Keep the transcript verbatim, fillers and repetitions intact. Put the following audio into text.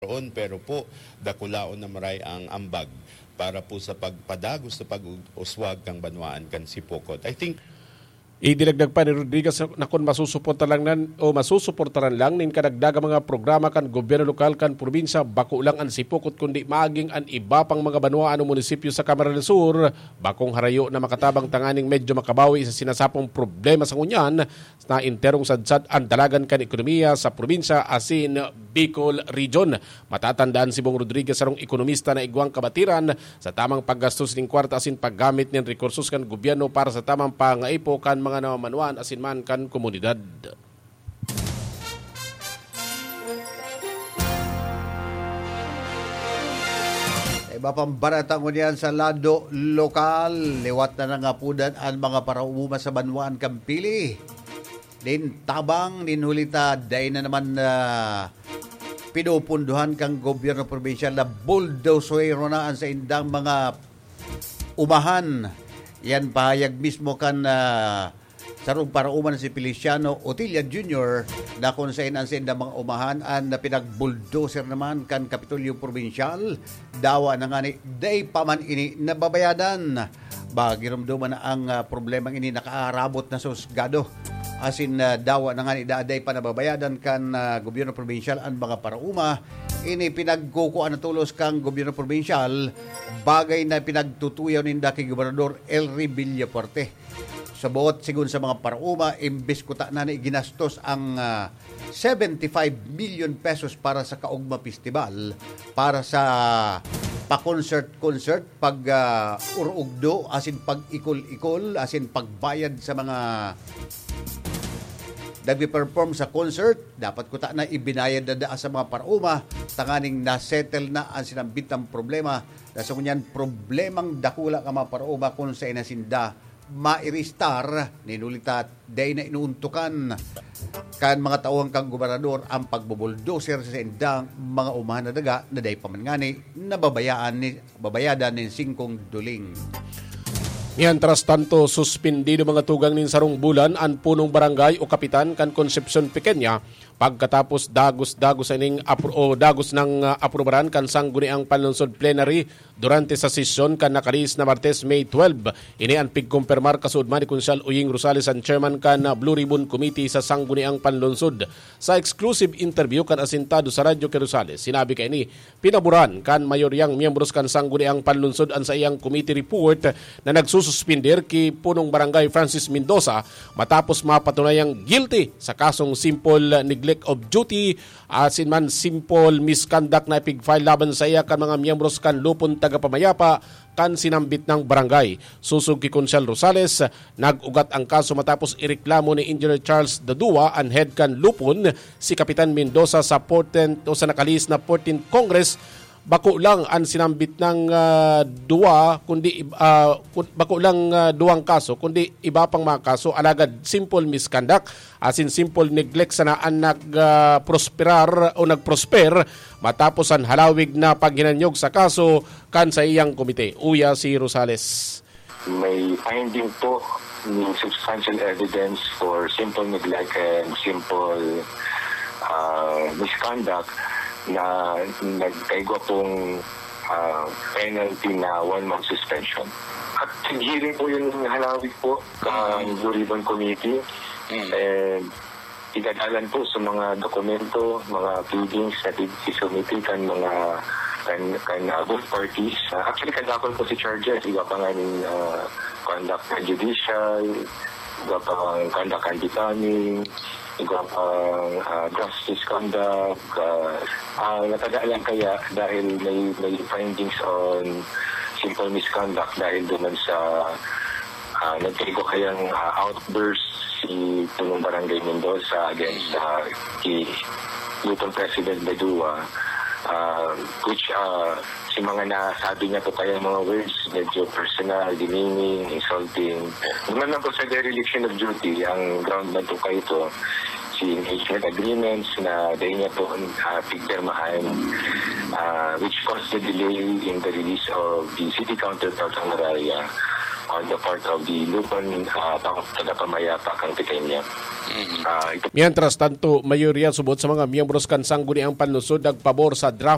Roon, pero po, dakulaon na maray ang ambag para po sa pagpadagos sa pag-uswag kang banwaan kan Sipocot. I think Idinagdag pa ni Rodriguez na kun masusuporta lang nan, o masusuportaran lang nin kadagdagang mga programa kan gobyerno lokal kan probinsya, bako lang an Sipocot kundi maging an iba pang mga banwaan o munisipyo sa Camarines Sur, bakong harayo na makatabang tanganing medyo makabawi sa sinasapong problema sa ngunyan na enterong sadsad an dalagan kan ekonomiya sa probinsya asin Bicol Region. Matatandaan si Bong Rodriguez, sarong ekonomista na igwang kabatiran sa tamang paggastos nin kwarta asin paggamit nin rekursos kan gobyerno para sa tamang pangaipo kan mga namamanwaan asin man kan komunidad. Iba pang barata ngunyan sa lado lokal, liwat na nangapudan an mga parauma sa banwaan kan Pili. Nin tabang, nin huli ta, dai na naman na pinupunduhan kang gobyerno probinsyal na buldosero na ang saindang mga umahan. Yan pahayag mismo kan ah, sarong parauma na si Feliciano Otilla Junior na kung sain ang saindang mga umahan an pinagbuldoser naman kan Kapitolyo Probinsyal. Dawa na ngani, dai pa man ini nababayadan. Ba, giromdoman na ang ah, problemang ini nakaarabot na sa husgado. Asin ah, dawa na ngani, da- dai pa nababayadan kan ah, gobyerno probinsyal an mga parauma. Ini pinagkukuan na tolos kang gobyerno probinsyal, bagay na pinagtutuyaw ninda ki Gobernador Elry Villafuerte. Sa buot, sigon sa mga parauma, imbis kuta na ni ginastos ang ah, seventy-five million pesos para sa Kaugma Festival, para sa pa-concert-concert, pag ah, urugdo, asin pag-ikol-ikol, asin pagbayad sa mga nagpe-perform sa concert, dapat kuta na ibinayad na daa sa mga parauma, tanganing na-settle na ang sinambitang problema. Na sa ngunyan, problemang dakula ka mga parauma kung sa inasinda mairistar, ninulita, dai na inuuntukan kan mga tauhan kang gobernador ang pagbubuldoser sa indang mga umahan na daga na dai pa man ngani nababayaan ni, babayadan nin singkong duling. Mientras tanto, suspindido mga tugang nin sarong bulan an punong barangay o kapitan kan Concepcion Pequeña pagkatapos dagos-dagos sa ining apro- o dagos ng ah, aprubaran kan Sangguniang Panlungsod Plenary durante sa sesyon kan nakalihis na Martes, May twelve. Ini an pigkompermar kasuodman ni Konsehal Uying Rosales, an chairman kan ah, Blue Ribbon Committee sa Sangguniang Panlungsod. Sa exclusive interview kan asentado sa radyo ki Rosales, sinabi kaini, pinaboran kan mayoryang miyembros kan Sangguniang Panlungsod an saiyang committee report na nagsususpender ki Punong Barangay Francis Mendoza matapos mapatunayang guilty sa kasong simple neglect of duty asin man simple misconduct na ipig-file laban sa iya kan mga miyembros kan Lupon Tagapamayapa kan sinambit nang barangay. Sosog ki Konsehal Rosales, nag-ugat ang kaso matapos ireklamo ni Engineer Charles Dadua, an head kan Lupon, si Kapitan Mendoza sa fourteenth o sa nakalihis na fourteenth Congress. Bako lang an sinambit nang ah, duwa, kundi ib- ah, kun- bako lang ah, duwang kaso, kundi iba pang mga kaso, alagad simple misconduct asin simple neglect sana an nag ah, prosperar o nagprosper matapos an halawig na paghinanyog sa kaso kan saiyang komite. Uya si Rosales. May finding po ng substantial evidence for simple neglect and simple uh, misconduct na nagkaigwa pong uh, penalty na one month suspension. At hearing po yun ng halawig po ng Blue Ribbon Committee. And Igadalan po sa mga dokumento, mga pleadings na isumiti kan mga kan, kan uh, both parties. Uh, actually, kadakol po si charges. Iba pa nga ning uh, conduct na judicial, iba pa nga conduct unbecoming, iba pa uh, gross misconduct. Uh, uh, natagaan lang kaya dahil may, may findings on simple misconduct dahil doon sa uh, nagkaigo kayang uh, outburst si Punong Barangay Mendoza against uh, kay Lupon President Badua, uh, which uh, si mga nasabi niya po kaya mga words, medyo personal, demeaning, insulting. Naman lang po sa dereliction of duty, ang ground na po kayo ito, si engagement agreements na dahil niya po uh, pigpirmahan, uh, which caused the delay in the release of the city counterpart of Mararia on the part of the Lupon uh, Tagapamayapa kang Pequeña. Uh, ito... Mientras tanto, mayoriya subot sa mga miyembros kan Sangguniang Panlungsod nagpabor sa draft